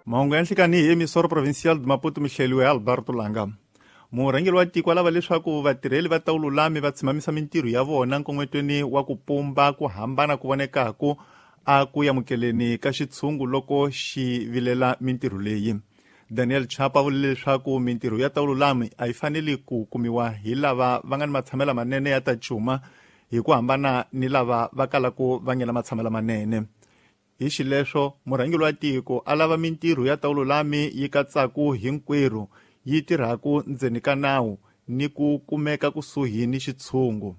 Mahungu ya nhlikani hi Emissora Provincial de Maputo, mihleliwe hi Alberto Langa. Murhangeri wa tiko lava leswaku vatirheli va ta vululami va tshimamisa mintirho ya vona nkongotweni wa ku pumba ku hambana ku vonekaku a ku amukeleni ka xitshungu loko xi vilela mintirho leyi. Daniel Chapa vule leswaku mintirho ya ta vululami a yi faneli ku kumiwa hi lava va nga ni matshamelo manene ya ta cuma hi ku hambana ni lava va kalaku va ngena matshamelo manene. Hi xileswo, murhangeri wa tiko a lava mintirho ya ta vululami yi katsaku hinkwerhu, yi tirhaku ndzeni ka nawu ni ku kumeka kusuhi ni xitshungu.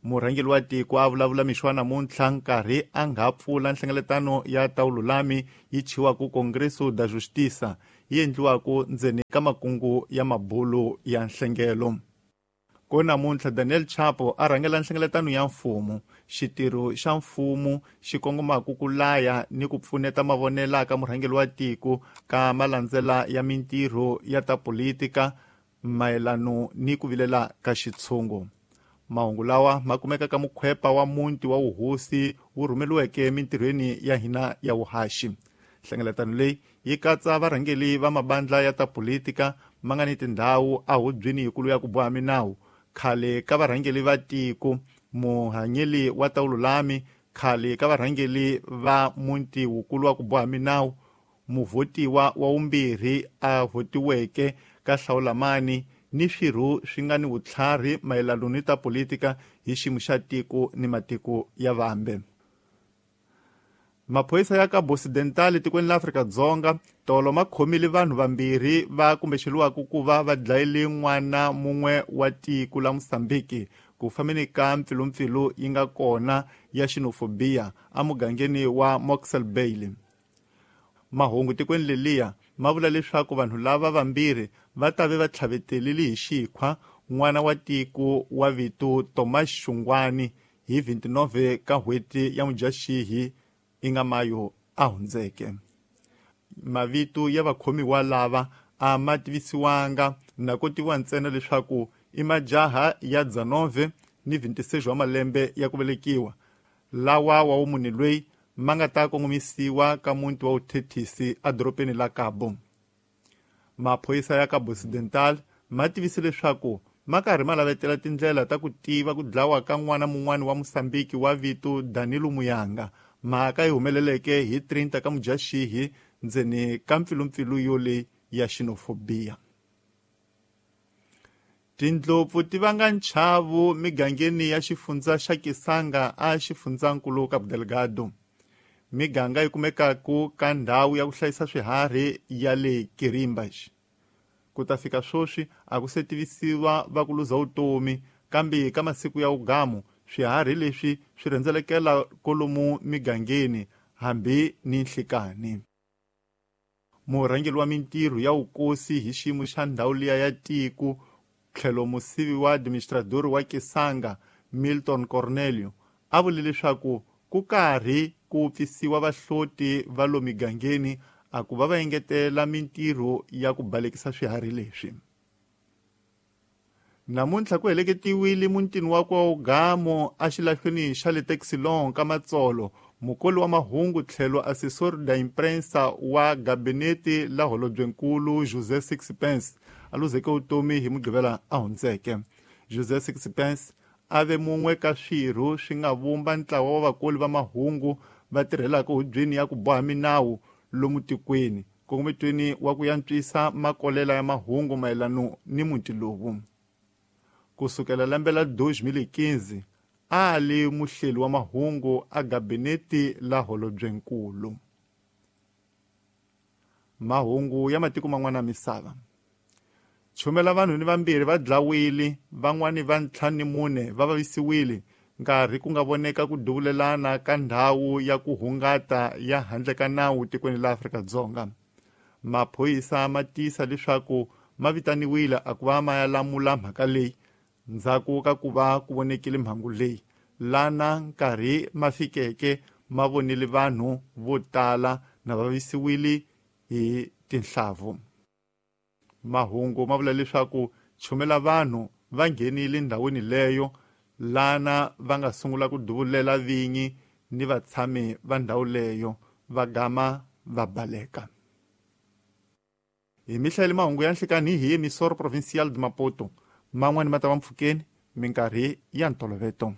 Murhangeri wa tiko a vulavula mixo wa namuntlha nkarhi a nga pfula nhlengeletano ya ta vululami yi chiwaku Congresso da Justiça, yi endliwaku ndzeni ka makungu ya mabulu ya nhlengelo. Ko namuntlha Daniel Chapo a rhangela nhlengeletano ya mfumo, xitirho xa mfumo xi kongomaka ku laya ni ku pfuneta mavonela ka murhangeri wa tiko ka malandzela ya mintirho ya ta politika mayelano ni ku vilela ka xitshungu. Mahungu lawa ma kumeka ka mukhwepa wa muti wa wuhosi wu rhumeriweke mintirhweni ya hina ya vuhaxi. Nhlengeletano leyi yi katsa varhangeri va mabandla ya ta politika ma nga ni tindhawu ehubyeni yikulu ya ku boha minawu, khale ka varhangeri va tiko, muhanyeli wa ta vululami, khale ka varhangeri va muti wukulu wa ku boha minawu, muvhotiwa wa vumbirhi a vhotiweke ka hlawulamani ni swirho swi nga ni vutlhari mayelano ni ta politika hi xiyimo xa tiko ni matiko ya vambe. Maphorisa ya ka Occidental tikweni la Afrika-Dzonga tolo ma khomile vanhu vambirhi va kumbexeriwaka ku va va dlayile n'wana mun'we wa tiko la Mozambique ku fambeni ka mpfilumpfilu yi nga kona ya xenophobia emugangeni wa Mossel Bay. Mahungu tikweni leliya ma vula leswaku vanhu lava vambirhi va ta ve va tlhavetelile hi xikhwa n'wana wa tiko wa vito Thomas Xungwani hi 29 ka n'hweti ya Mudyaxihi i nga mayo a hundzeke. Mavito ya vakhomiwa lava a ma tivisiwanga na ko tiviwa ntsena leswaku i majaha ya 19 ni 26 wa malembe ya ku velekiwa, lawa wa wumune loyi ma nga ta kongomisiwa ka muti wa vuthethisi edorobeni la Cabo. Maphorisa ya Cabo Occidental ma tivise leswaku ma karhi ma lavetela tindlela ta ku tiva ku dlawa ka n'wana mun'wana wa Mozambique wa vito Danilo Muyanga, mhaka yi humeleleke hi 30 ka Mudyaxihi ndzeni ka mpfilumpfilu yoleyi ya xenophobia. Tindlopfu ti vanga nchavu migangeni ya xifundza xa Kisanga a xifundzankulu Cabo Delgado. Miganga yi kumekaku ka ndhawu ya ku hlayisa swiharhi ya le Quirimbas. Ku ta fika swoswi a ku se tivisiwa va ku luza vutomi, kambe ka masiku ya ugamu swiharhi leswi swi rhendzelekela kolomu migangeni hambi ni nhlikani. Murhangeri wa mintirho ya vukosi hi xiyimo xa ndhawu liya ya tiko tlhelo musivi wa administrador wa Kisanga Milton Cornelio a vule leswaku ku karhi ku pfisiwa vahloti va lo migangeni a ku va va engetela mintirho ya ku balekisa swiharhi leswi. Namuntlha ku heleketiwile mutini wa kwa Ugamo exilahlweni xa le Taxilon ka Matsolo, mukoli wa mahungu tlhelo assessor da imprensa wa gabinete la holobyenkulu José Sixpence a luzeke vutomi hi Mugqivela a hundzeke. José Sixpence a ve mun'we ka swirho swi nga vumba ntlawa wa vakoli va mahungu va tirhelaka hubyeni ya ku boha minawu lomu tikweni, nkongometweni wa ku yantswisa makolela ya mahungu mayelano ni muti lowu. Ku sukela lembe la 2015 a li muhleli wa mahungu a gabinete la holobyenkulu. Mahungu ya matiko man'wana ya misava. Chumela vanhu ni vambirhi va dlawile, van'wani va 54 va vavisiwile nkarhi ku nga voneka ku duvulelana ka ndhawu ya ku hungata ya handle ka nawu tikweni la Afrika-Dzonga. Maphorisa ma tiyisa leswaku ma vitaniwile a ku va ma ya lamula mhaka leyi ndzhaku ka ku va ku vonekile mhangu leyi, lana nkarhi ma fikeke ma vonile vanhu vo tala na vavisiwile hi tinhlavu. Mahungu ma vula leswaku chumela vanhu va nghenile ndhawini leyo lana va nga sungula ku duvulela vinyi ni vatshami va ndhawu leyo va gama va baleka. Hi mi hlayele mahungu ya nhlikani hi Emissora Provincial de Maputo. Man'wani ma ta va mpfhukeni minkarhi ya ntoloveto.